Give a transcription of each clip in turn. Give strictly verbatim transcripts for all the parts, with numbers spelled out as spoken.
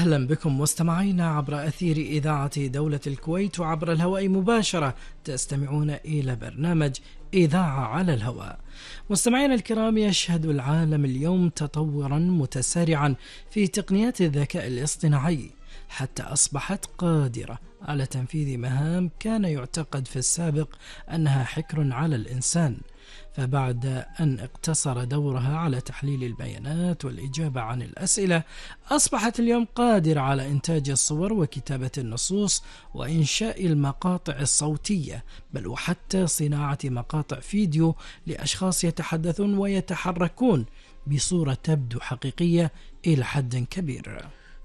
أهلا بكم مستمعينا عبر أثير إذاعة دولة الكويت وعبر الهواء مباشرة. تستمعون إلى برنامج إذاعة على الهواء. مستمعينا الكرام، يشهد العالم اليوم تطورا متسارعا في تقنيات الذكاء الاصطناعي، حتى أصبحت قادرة على تنفيذ مهام كان يعتقد في السابق أنها حكر على الإنسان. فبعد أن اقتصر دورها على تحليل البيانات والإجابة عن الأسئلة، أصبحت اليوم قادرة على إنتاج الصور وكتابة النصوص وإنشاء المقاطع الصوتية، بل وحتى صناعة مقاطع فيديو لأشخاص يتحدثون ويتحركون بصورة تبدو حقيقية إلى حد كبير.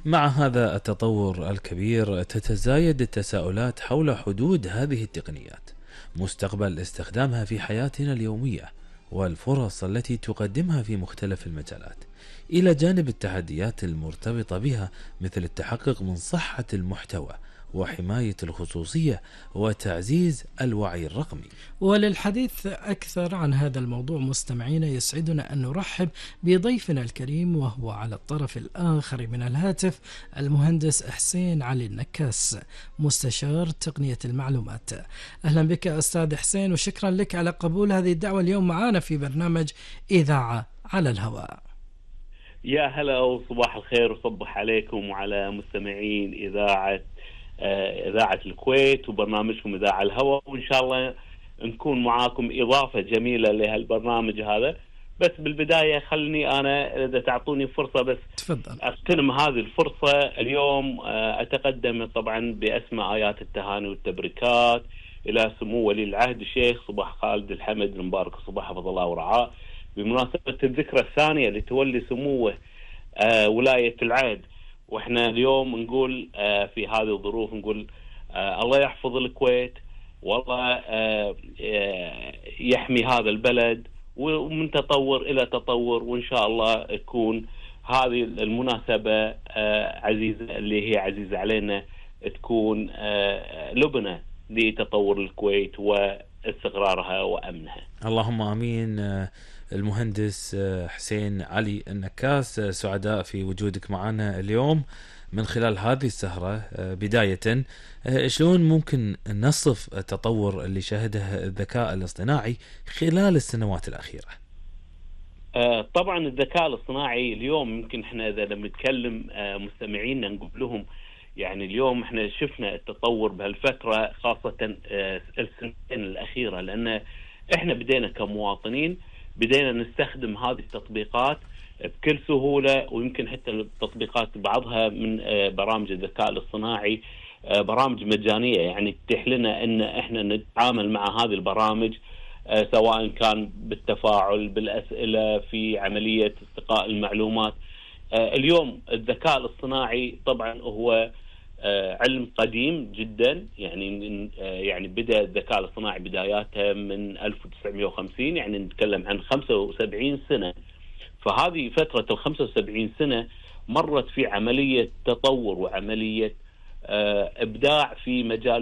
مع هذا التطور الكبير تتزايد التساؤلات حول حدود هذه التقنيات، مستقبل استخدامها في حياتنا اليومية، والفرص التي تقدمها في مختلف المجالات، إلى جانب التحديات المرتبطة بها مثل التحقق من صحة المحتوى وحماية الخصوصية وتعزيز الوعي الرقمي. وللحديث أكثر عن هذا الموضوع مستمعين، يسعدنا أن نرحب بضيفنا الكريم وهو على الطرف الآخر من الهاتف المهندس حسين علي النكاس، مستشار تقنية المعلومات. أهلا بك أستاذ حسين، وشكرا لك على قبول هذه الدعوة اليوم معنا في برنامج إذاعة على الهواء. يا هلا وصباح الخير، وصبح عليكم وعلى مستمعين إذاعة إذاعة الكويت وبرنامجكم إذاعة الهواء، وإن شاء الله نكون معاكم إضافة جميلة لهالبرنامج هذا. بس بالبداية خلني أنا إذا تعطوني فرصة بس تفضل أغتنم هذه الفرصة. اليوم أتقدم طبعا بأسماء آيات التهاني والتبريكات إلى سمو ولي العهد الشيخ صباح خالد الحمد المبارك صباح حفظ الله ورعاه، بمناسبة الذكرى الثانية لتولي سموه ولاية العهد. واحنا اليوم نقول آه في هذه الظروف نقول آه الله يحفظ الكويت، والله آه آه يحمي هذا البلد، ومن تطور الى تطور، وان شاء الله تكون هذه المناسبة آه عزيزة اللي هي عزيزة علينا، تكون آه لبنة لتطور الكويت واستقرارها وامنها. اللهم امين. المهندس حسين علي النكاس، سعداء في وجودك معنا اليوم من خلال هذه السهرة. بداية، شلون ممكن نصف التطور اللي شهده الذكاء الاصطناعي خلال السنوات الأخيرة؟ طبعا الذكاء الاصطناعي اليوم يمكن احنا إذا لما نتكلم مستمعينا نقول لهم يعني اليوم احنا شفنا التطور بهالفترة، خاصة السنتين الأخيرة، لأن احنا بدينا كمواطنين بدينا نستخدم هذه التطبيقات بكل سهولة، ويمكن حتى التطبيقات بعضها من برامج الذكاء الاصطناعي برامج مجانية، يعني تتيح لنا ان احنا نتعامل مع هذه البرامج سواء كان بالتفاعل بالأسئلة في عملية استقاء المعلومات. اليوم الذكاء الاصطناعي طبعا هو علم قديم جدا، يعني يعني بدأ الذكاء الاصطناعي بداياته من ألف وتسعمائة وخمسين، يعني نتكلم عن خمسة وسبعين سنة. فهذه فترة ال خمسة وسبعين سنة مرت في عملية تطور وعملية إبداع في مجال